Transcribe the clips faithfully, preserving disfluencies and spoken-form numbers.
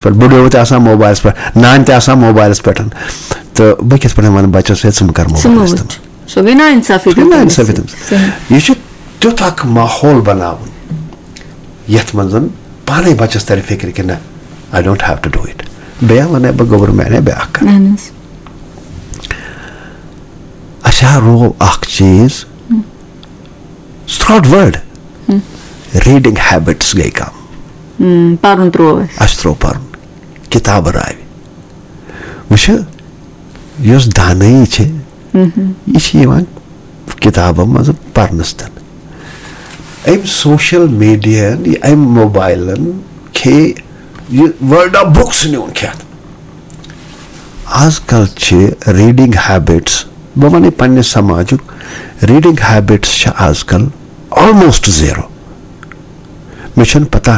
پٮ۪ٹھ، بُڈٕ تہِ آسان موبایلَس پٮ۪ٹھ، نانۍ تہِ آسان موبایلَس پٮ۪ٹھ۔ تہٕ بہٕ کِتھ پٲٹھۍ وَنہٕ بَچَس، "ہے، ژٕ مہٕ کَر ژٕ موبایلَس مہٕ تام"؟ وٕچھ۔ سُہ گٔے نااِنصافی سُہ گٔے تٔمِس نااِنصافی سۭتۍ۔ تٔمِس۔ صحیح۔ یہِ چھُ تیُتھ اَکھ ماحول بَناوُن، یَتھ منٛز زَن پانَے بَچَس تَرِ فِکرِ کہِ نہ، I don't have to do it۔ بیٚیہِ وَنَے بہٕ گوٚبُر میٛانہِ بیٛاکھ کَتھ۔ اہن حظ۔ اَسہِ ہا روو اَکھ چیٖز، throughout world reading habits گٔے کَم۔ ہم، پَرُن ترٛوو اَسہِ۔ اَسہِ ترٛوو پَرُن، کِتابہٕ راوِ۔ وٕچھو، یۄس دانٲیی چھِ، یہِ چھِ یِوان کِتابَن منٛز پَرنَس تَل۔ أمۍ social media ہَن، یہِ أمۍ موبایلَن کھے یہِ world of books نیوٗن کھٮ۪تھ۔ آز کل چھِ reading habits، بہٕ وَنہٕ پننہِ سماجُک، reading habits چھِ آز کل almost zero۔ مےٚ چھَنہٕ پتہ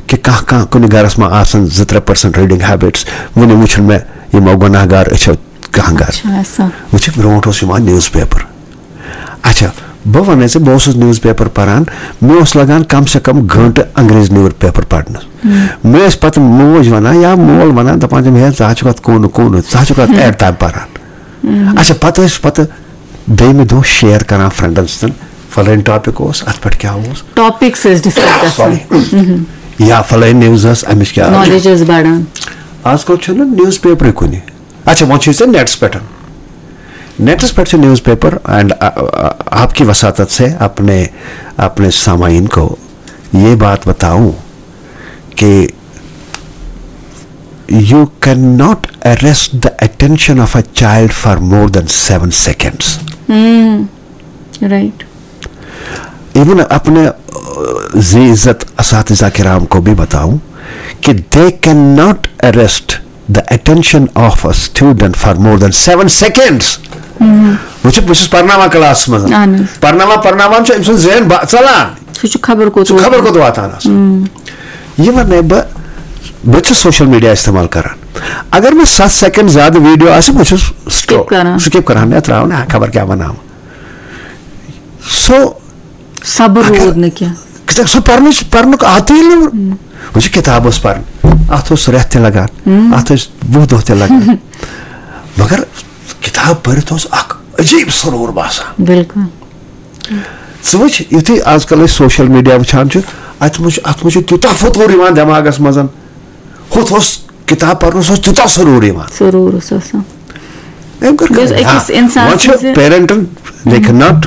کہِ کانٛہہ، کانٛہہ کُنہِ گرس منٛز آسن زٕ ترٛےٚ percent reading habits۔ وُنہِ وُچھُن مےٚ یِمو گۄناہ گار أچھو کانٛہہ گرٕ۔ اچھا، ایسا۔ وُچھِکھ، برونٛٹھ اوس یِوان newspaper۔ اچھا، بہٕ وَنَے ژےٚ، بہٕ اوسُس newspaper پَران، مےٚ اوس لَگان کم سے کم گٲنٛٹہٕ انگریز newspaper پَرنَس۔ مےٚ ٲسۍ پَتہٕ موج وَنان یا مول وَنان، دَپان تِم، "ہے، ژٕ حظ چھُکھ اَتھ کوٗنہٕ کوٗنہٕ، ژٕ حظ چھُکھ اَتھ ایڈ تام پَران۔" اچھا، پَتہٕ ٲسۍ پَتہٕ بیٚیہِ مہِ دۄہ share کَران friendن سۭتۍ، فلٲنۍ topic اوس، اَتھ پٮ۪ٹھ کیٛاہ اوس؟ Topics ٲسۍ discuss گژھان۔ Sorry۔ یا فلٲنۍ news ٲس، اَمِچ کیٛاہ؟ Knowledge ٲس بَڑان۔ آز کل چھُنہٕ newspaperٕے کُنہِ۔ اچھا، وۄنۍ چھُے ژےٚ نیٹس پٮ۪ٹھ۔ نیٹس پٮ۪ٹھ چھُ newspaper and، آ، آ، آپ کی وساطت سے اپنے، اپنے سامعین کو یہ بات بتاؤں کہ you cannot arrest the attention of a child for more than seven seconds۔ Right. Even اپنے، آ، ذی عزت اساتذہ کرام کو بھی بتاؤں کہ they cannot arrest the attention of a student for more than seven seconds۔ وٕچھِو، بہٕ چھُس پرناوان کلاسس منٛز۔ اہن حظ۔ پرناوان، پرناوان چھُ أمۍ سُنٛد ذہن با-، ژلان۔ سُہ چھُ خبر کوٚت سُہ خبر ووتمُت۔ کوٚت واتان آسان۔ یہِ وَنَے بہٕ، بہٕ چھُس social media استعمال کران۔ اگر مےٚ ستھ second زیادٕ video آسہِ، بہٕ چھُس scroll، کران۔ Skip کران، یا ترٛاوان، ہا، خبر کیٛاہ وَنہٕ ہا۔ So، صبر اگر روٗد نہٕ کینٛہہ۔ کِتاب، سُہ پرنٕچ، پرنُک عادتٕے ییٚلہِ نہٕ، وۄنۍ چھِ کِتاب ٲس پرٕنۍ، اَتھ اوس رٮ۪تھ تہِ لگان، اَتھ ٲسۍ وُہ دۄہ تہِ لگان۔ مگر کِتاب پٔرِتھ اوس اکھ عجیٖب سرور باسان۔ بِلکُل۔ ژٕ وٕچھ، یُتھُے آز کل أسۍ social media وٕچھان چھِ، اَتھ منٛز چھُ، اَتھ منٛز چھُ تیوٗتاہ فطوٗر یِوان دٮ۪ماغس منٛز، ہُتھ اوس کِتاب پرنس اوس تیوٗتاہ سرور یِوان۔ سرور اوس آسان۔ أمۍ کٔر یُس کٲم۔ أکِس ہاں، اِنسان وۄنۍ چھُ سٕنٛزِ parentن، they cannot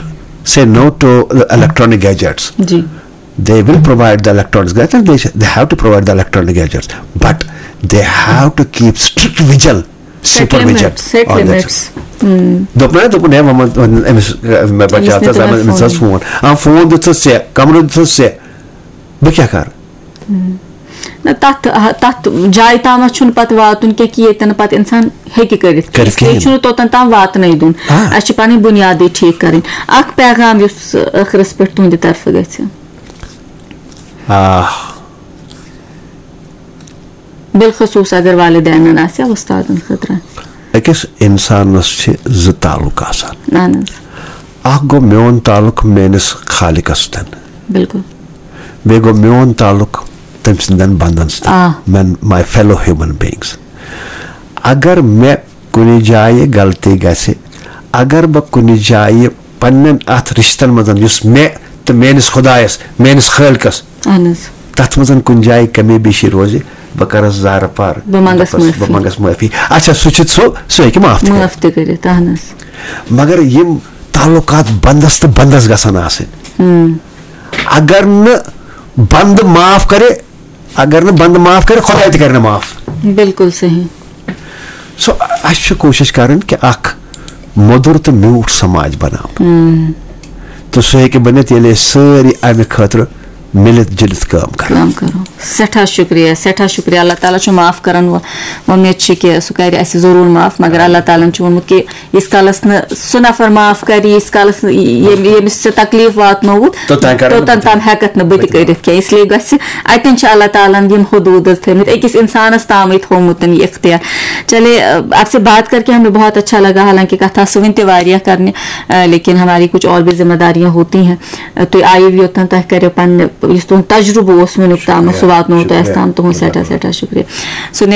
say no to electronic gadgets۔ G. They will provide the electronic gadgets, they, they have to provide the electronic gadgets, but they have to keep strict vigil, supervision on that۔ دوٚپمَے، دوٚپُن، ہے، وۄنۍ، وۄنۍ أمِس، مےٚ بَچاو تہٕ أمِس دِتُن أمِس حظ فون۔ آ، فون دیُتھُس ژےٚ، کَمرٕ دیُتھُس ژےٚ، بہٕ کیٛاہ کَرٕ؟ نہ، تَتھ، تَتھ جایہِ تامَتھ چھُنہٕ پَتہٕ واتُن کینٛہہ کہِ ییٚتٮ۪ن نہٕ پَتہٕ اِنسان ہیٚکہِ کٔرِتھ کینٛہہ۔ کٔرِتھ اِسلیے کِہیٖنۍ۔ چھُنہٕ توٚتَن تام واتنَے دیُن۔ آ۔ اَسہِ چھِ پَنٕنۍ بُنیادٕے ٹھیٖک کَرٕنۍ۔ اَکھ پیغام یُس ٲخرَس پٮ۪ٹھ تُہٕنٛدِ طرفہٕ گژھِ۔ آ۔ بالخصوٗص اگر والدینن آسہِ یا وۄستادن خٲطرٕ۔ أکِس اِنسانَس چھِ زٕ تعلق آسان۔ اہن حظ۔ اکھ گوٚو میون تعلق میٲنِس خالقس سۭتۍ۔ بِلکُل۔ بیٚیہِ گوٚو میون تعلق تٔمۍ سٕنٛدٮ۪ن بنٛدن سۭتۍ۔ آ۔ Men, my fellow human beings۔ اگر مےٚ کُنہِ جایہِ غلطی گژھِ، اگر بہٕ کُنہِ جایہِ پننٮ۪ن اتھ رشتن منٛز یُس مےٚ تہٕ میٲنِس خۄدایس، میٲنِس خٲلقس، اہن حظ۔ تتھ منٛز کُنہِ جایہِ کمی بیشی روزِ، بہٕ کرس زارٕ پار، بہٕ منٛگس بہٕ پس-، معٲفی۔ بہٕ منٛگس معٲفی۔ اچھا، سُہ چھُ سُہ، سُہ ہیٚکہِ معاف تہِ معاف کٔرِتھ۔ تہِ کٔرِتھ، اہن حظ۔ مگر یِم تعلقات بندس تہٕ بندس گژھن آسٕنۍ۔ ہم۔ اگر نہٕ بندٕ معاف کرِ، اگر نہٕ بندٕ معاف کرِ، خۄداے تہِ کرِ نہٕ معاف۔ بِلکُل صحیح۔ سو، اَسہِ چھِ کوٗشِش کرٕنۍ کہِ اکھ مۄدُر تہٕ میوٗٹھ سماج بناوُن۔ تہٕ سُہ ہیٚکہِ بٔنِتھ، ییٚلہِ أسۍ سٲری اَمہِ خٲطرٕ مِلِتھ جُلِتھ کٲم کرو۔ کٲم کرو۔ سٮ۪ٹھاہ شُکریہ، سٮ۪ٹھاہ شُکریہ۔ اللہ تعالیٰ چھُ معاف کرن وول۔ وۄمید چھِ کہِ سُہ کرِ اَسہِ ضروٗر معاف، مگر اللہ تعالیٰ ہن چھُ ووٚنمُت کہِ ییٖتِس کالس نہٕ سُہ نفر معاف کرِ، ییٖتِس کالس نہٕ ییٚمۍ، ییٚمِس ژےٚ تکلیٖف واتنووُتھ، توٚتام کرن نہٕ توٚتام تام ہٮ۪کتھ نہٕ بہٕ تہِ بہٕ تہِ کٔرِتھ کینٛہہ۔ اس لیے گژھِ، اتٮ۪ن چھِ اللہ تعالیٰ ہن یِم حدوٗد حظ تھٲومٕتۍ، أکِس انسانس تامٕے تھوٚومُت یہِ اختیار۔ چلے، آپ سے بات کر کے ہمیں بہت اچھا لگا، حالانکہ کتھ آسہٕ وُنہِ تہِ واریاہ کرنہِ، لیکن ہماری کچھ اور بھی ذمہ داریاں ہوتی ہیں۔ تُہۍ آیِو یوٚتن، تۄہہِ کریو پننہِ، یُس تُہُنٛد تجرُبہٕ اوس وُنیُک تام، سُہ واتنوو تۄہہِ اَسہِ تام۔ تُہُنٛد سٮ۪ٹھاہ سٮ۪ٹھاہ شُکریہ۔ سُہ